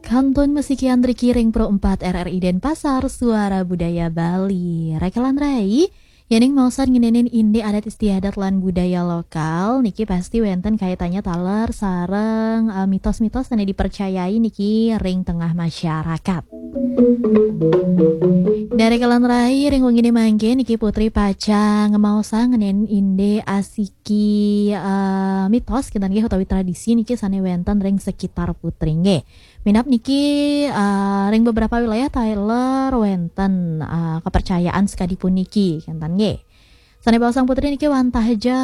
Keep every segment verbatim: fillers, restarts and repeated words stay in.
Kantun masikian riki ring Pro empat R R I Denpasar, Suara Budaya Bali. Rekelan rai, yaning maosan ngenenin indik adat istiadat lan budaya lokal, niki pasti wenten kaitannya taler sareng, eh, mitos-mitos sane dipercayai niki ring tengah masyarakat. Nah, rekelan rai, ring wengine mangke niki Putri pacang ngemaosang ngenenin indik asiki, eh, mitos kinten nggih utawi tradisi niki sane wenten ring sekitar Putri nggih. Minab niki, eh, ring beberapa wilayah taler wenten, eh, kepercayaan sekadi puniki kinten nggih. Sane baosang Putri niki wantah ja,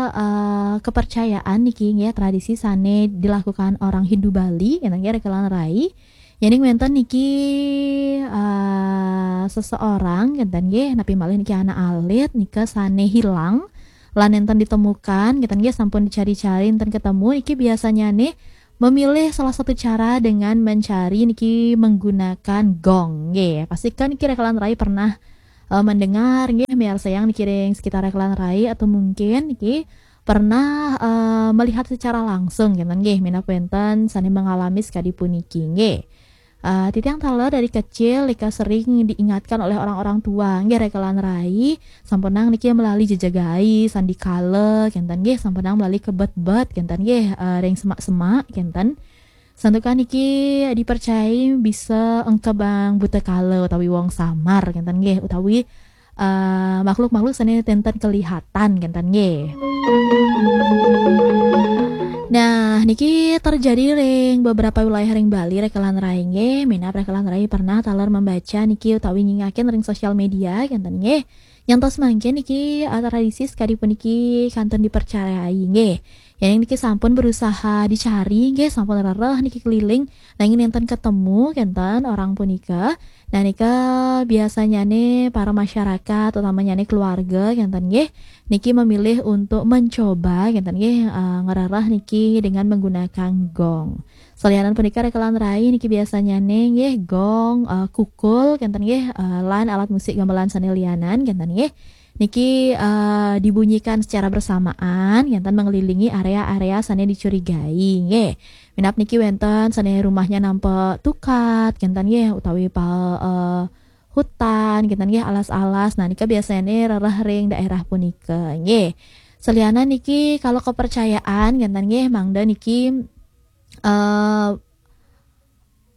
eh, kepercayaan niki nggih, tradisi sane dilakukan orang Hindu Bali kinten nggih, rekelan rai. Yening wenten niki, eh, seseorang kinten nggih, napi malih niki anak alit nika sane hilang lan nenten ditemukan kinten nggih, sampun dicari-cari nenten ketemu, niki biasanya nih memilih salah satu cara dengan mencari niki menggunakan gong nggih. Pastikan niki rekelan rai pernah, eh, mendengar nggih, miarsayang niki ring sekitar rekelan rai atau mungkin niki pernah, eh, melihat secara langsung kinten nggih, minab wenten sane mengalami sekadi puniki nggih. Eh, titiang taler dari kecil nika sering diingatkan oleh orang-orang tua nggih, rekelan rai, sampunang niki melali jejegai sandikala kinten nggih, sampunang melali kebet-bet kinten nggih, eh, ring semak-semak kinten. Santukan niki dipercayai bisa engkebang buta kala utawi wong samar kinten nggih, utawi, eh, makhluk-makhluk sane tenten kelihatan kinten nggih. Nah, niki terjadi ring beberapa wilayah ring Bali, rekelan rai nggih. Minab rekelan rai pernah taler membaca niki utawi nyingakin ring sosial media kinten nggih. Nyantos mangkin niki, eh, tradisi sekadi puniki kantun dipercayai nggih. Yening niki sampun berusaha dicari nggih, sampun rereh niki keliling, nanging nenten ketemu kinten orang punika. Nah, nika biasanyane para masyarakat, utamanyane keluarga kinten nggih, niki memilih untuk mencoba kinten nggih, eh, ngerereh niki dengan menggunakan gong. Salianan punika rekelan rai niki biasanyane nggih gong, eh, kukul kinten nggih, eh, lan alat musik gamelan sane lianan kinten nggih. Niki, eh, dibunyikan secara bersamaan kinten mengelilingi area-area sane dicurigai nggih. Minab niki wenten sane rumahnya nampak tukat kinten nggih, utawi pa, eh, hutan kinten nggih, alas-alas. Nah, nika biasanya rereh ring daerah punika nggih. Salianan niki kalau kepercayaan kinten nggih, mangda niki, eh,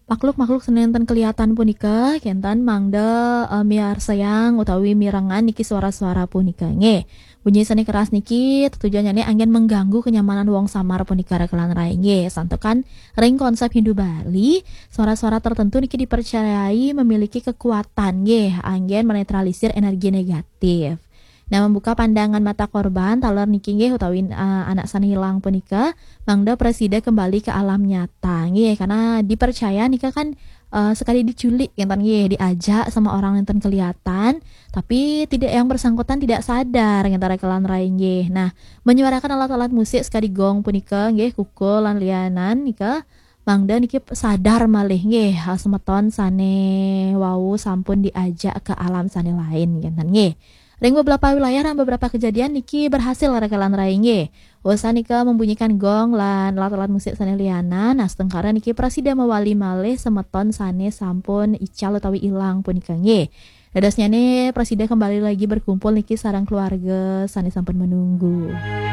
makhluk-makhluk sane nenten kelihatan punika kinten mangda, eh, miarsayang utawi mirengang niki suara-suara punika nggih. Bunyi sane keras niki tetujonnyane anggen mengganggu kenyamanan wong samar punika rekelan rai nggih. Santukan ring konsep Hindu Bali, suara-suara tertentu niki dipercayai memiliki kekuatan nggih, anggen menetralisir energi negatif. Nah, membuka pandangan mata korban taler niki nggih, utawi, eh, anak sane hilang punika, mangda prasida kembali ke alam nyata nggih, karena dipercaya nika kan, eh, sekadi diculik kinten nggih, diajak sama orang nenten kelihatan, tapi tidak, yang bersangkutan tidak sadar kinten rekelan rai nggih. Nah, menyuarakan alat-alat musik sekadi gong punika nggih, kukul lan lianan nika, mangda niki sadar malih nggih, ha, semeton sane wau sampun diajak ke alam sane lain kinten nggih. Ring beberapa wilayah dan beberapa kejadian niki berhasil rekelan rai nggih. Usan nika membunyikan gong lan alat-alat musik sane lianan, nah, astungkara niki prasida mawali malih semeton sane sampun ical utawi ilang punika nggih. Dadosnyane prasida kembali lagi berkumpul niki sareng keluarga sane sampun menunggu.